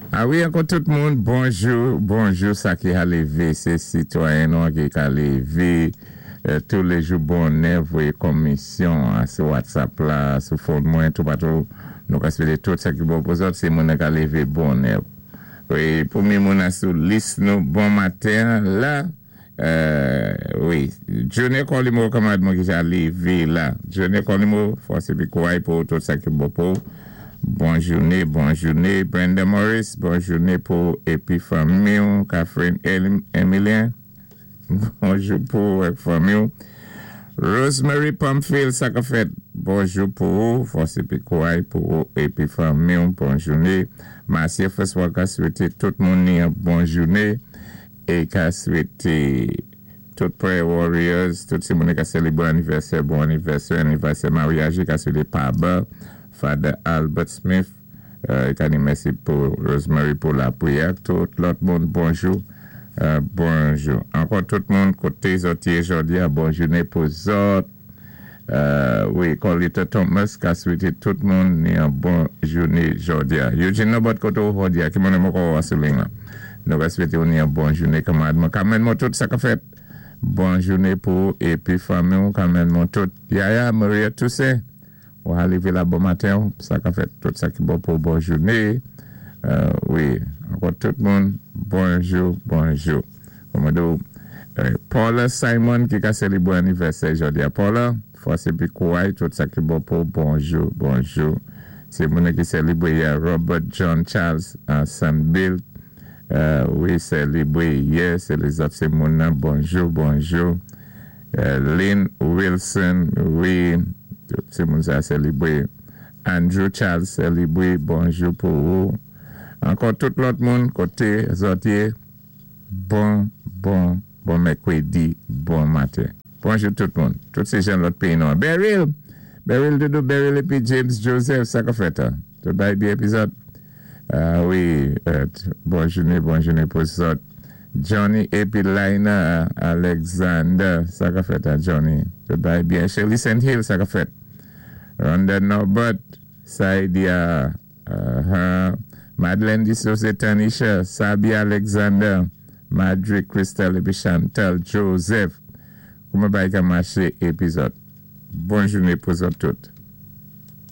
A wi, ankò tout moun, bonjou, bonjou. Sa ki ka lévé, sé sitwayen nou ki ka lévé touléjou bonnè, voyé komisyon sou WhatsApp la, sou phone mwen, toupatou. Nou ka swété tout sa ki bon pou zòt, sé moun ka lévé bonnè. Wi, pwémyé moun sou lis nou bon maten la. Wi, Johnny Colimo, kanmarad mwen ki ja lévé la. Johnny Colimo, fòs épi kouray pou tout sa ki bon pou. Bon jouné, bon jouné. Brenda Morris, bon jouné pou épi fanmi, Catherine Emilien, bonjou pou fanmi. Rosemary Pamphile, sa ka fèt, bonjou pou fòs épi kouray pou épi fanmi, bon jouné. Marcia François ka swété tout moun yon bon jouné é ka swété tout Prayer Warriors, tout sé moun ka sélébwé anivèsè, bon anivèsè, anivèsè maryaj, ka swété Paba, Father Albert Smith, é ka di mèsi pou Rosemary pou lapriyè, tout lòt moun, bonjou, bonjou. Ankò tout moun, koté zòt yé jòdi a, bon jouné pou zòt. Wi, Colita Thomas ka swété tout moun yon bon jouné jòdi a. Eugene Nobot koté ou jòdi a, ki moun mwen sou liy la. Nou ka swété yon bon jouné kanmarad mwen. Carmen mwen tout sa ka fèt. Bon jouné pou épi fanmi Carmen mwen tout. Yaya Maria Toussaint. Ou arivé la bon maten, sa ka fèt tout sa ki bon pou bon jouné. Wi, ankò tout moun, bonjou, bonjou. Kòman Paula Simon ki ka sélébwé anivèsè jòdi a. Paula, fòs épi kouray, tout sa ki bon pou bonjou, bonjou. Sé moun ki sélébwé yè Robert John Charles Bill. Wi, sélébwé yè, sé lézòt sé moun bonjou, bonjou. Lynn Wilson, wi, tout sé moun sa sélébwé. Andrew Charles sélébwé, bonjou pou ou. Ankò tout lòt moun, koté zòt yé, bon, bon, bon mèkwédi, bon maten. Bonjou tout moun. Tout sé jan lòt péyi nou. Beryl, Beryl Doudou, Beryl épi James Joseph, sa ka fèt, hein? Tout bagay byen épi zòt. Ah wi, bon jouné, bon jouné pou zòt. Johnny épi Laina Alexander, sa ka fèt, hein, Johnny? Tout bagay byen. Shirley St. Hill, sa ka fèt. Rhonda Norbert, Saidia, Madeleine Dissose, Tanisha, Sabi Alexander, Madrid Crystal épi Chantal Joseph. Kouman bagay ka maché épi zòt? Bon jouné pou zòt tout.